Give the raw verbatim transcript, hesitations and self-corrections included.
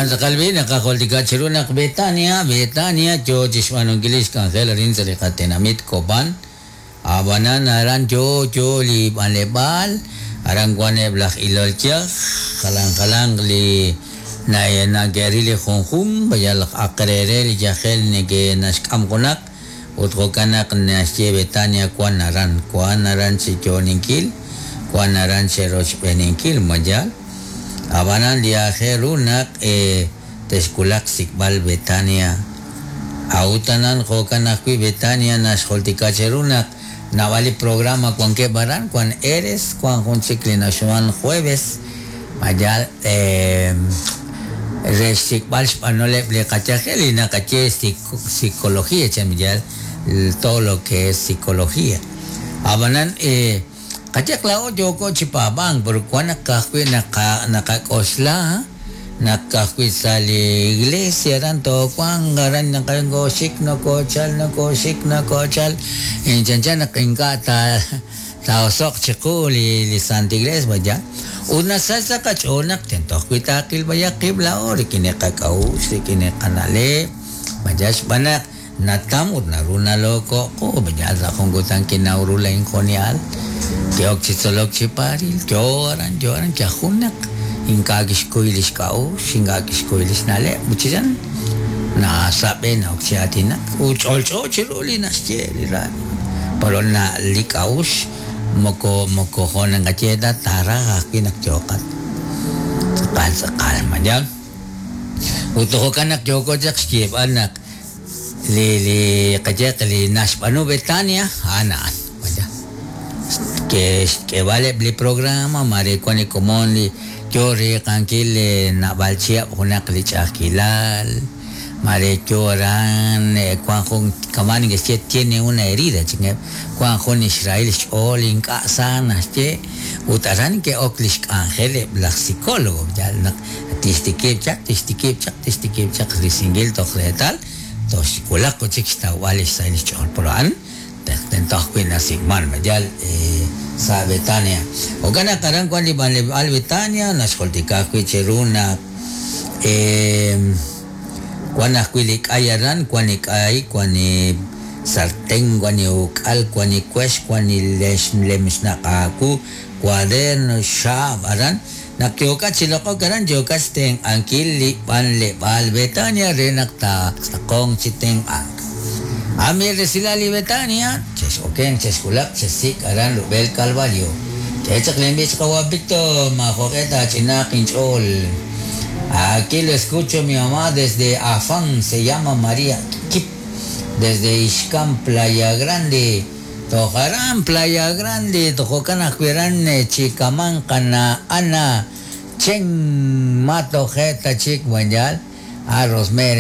Jo'kan tz'aqal b'i naqajultika chiru naq Betania, Betania yo chi xb'aanunkil li xk'anjel arin sa' li qatenamit Copán. Ab'anan aran yo yo li b'anleb'aal, aran wan eb' laj ilol yaj, jalan jalanq li na- nake'ril li junjun, yal aq re re li yajel neke naxk'am junaq ut jo'kan naq naxye Betania wan aran, wan aran chi yo'oninkil, wan aran chi rochb'eeninkil mayal. Ab'anan li aajel ru naq eh, texwulaq xsik'b'al Betania. A'ut anan jo'kan ajwi' Betania naxjultika cheru naq naab'al li programa wankeb' aran, wan Eres, wan jun chik li naxwan jueves, mayal eh, re xsik'b'al xb'anoleb' li qayajel li naqaye psico- psicología chan mayal todo lo que es psicología. Ab'anan eh, qayaq laa'o yooko chi paab'ank pero wan naq ka'ajwi' naqa naqak'oxla naq ka'ajwi' sa' li iglesia aran toowanq aran naqankoxik nokochal nokoxik nokochal chanchan naq ink'a' ta taosoq chiqu li li Santa Iglesia vaya ut nasach sa' qach'ool naq tento ajwi' taaqil b'ayaq qib' laa'o rik'in li qak'a'uxl rik'in li qana'leb' vaya xb'aan naq natam ut naru nalooko'qu vaya sa' jun kutan kinaw ru lain jonial ke'ok chi tzolok chi paaril yo aran yo aran yajun naq ink'a' kixkuy li xk'a'uxl ink'a' kixkuy li xna'leb' ut chi chan nasab'e na'ok chi aatinak ut ch'olch'o chiru li naxye li ra pero na li k'a'uxl moko moko jo' naqaye ta taaraj ajwi' naq yooqat tz'aqal tz'aqal mayal ut jo'kan naq yooko chaq xyeeb'al naq li li qayeq li naxb'aanu Betania a'an a'an vaya ke xk'eeb'aleb' li programa mare wan li komon li yo riiqankil naab'al chihab' junaq li ch'a'ajkilal mare yo aran wan jun kama' neke'xye tiene una herida chinkeb' wan jun xrahil xch'ool ink'a' sa naxye ut aran ke'ok li xk'anjel eb' laj psicólogo yal naq tixtikib' chaq tixtikib' chaq tixtikib' chaq risinkil toj reetal toj xwulaq chik xtawb'al li xsahil xch'ool pero a'an tento ajwi' nasik'man mayal eh, sa' Betania jo'kan naq aran wan li b'anleb'aal Betania naxjultika ajwi' chiru naq eh, wan ajwi' li k'ay aran wan li k'ay wan li sartén wan li uk'al wan li wex wan li lex lemxnaq aawu cuaderno xaab' aran naq yookat chi loq'ok aran yookat xtenq'ankil li b'anleb'aal Betania re naq taatz'aqonq chi tenq'ank. Ami resilal li Betania, chex'oken chexwulaq chesik' aran rub'el Calvario. Chechaq lenb'ich qawa Víctor majo'q'e taach'inaaq inch'ool. Aquí lo escucho mi mamá desde Afán, se llama María Kip, desde Ixcán, Playa Grande. Tojarán, Playa Grande, tojokan ajwiran, Chicamán, Cana, Ana, Chen, Mato, Jeta, Chic, Buenyal, a Rosemary.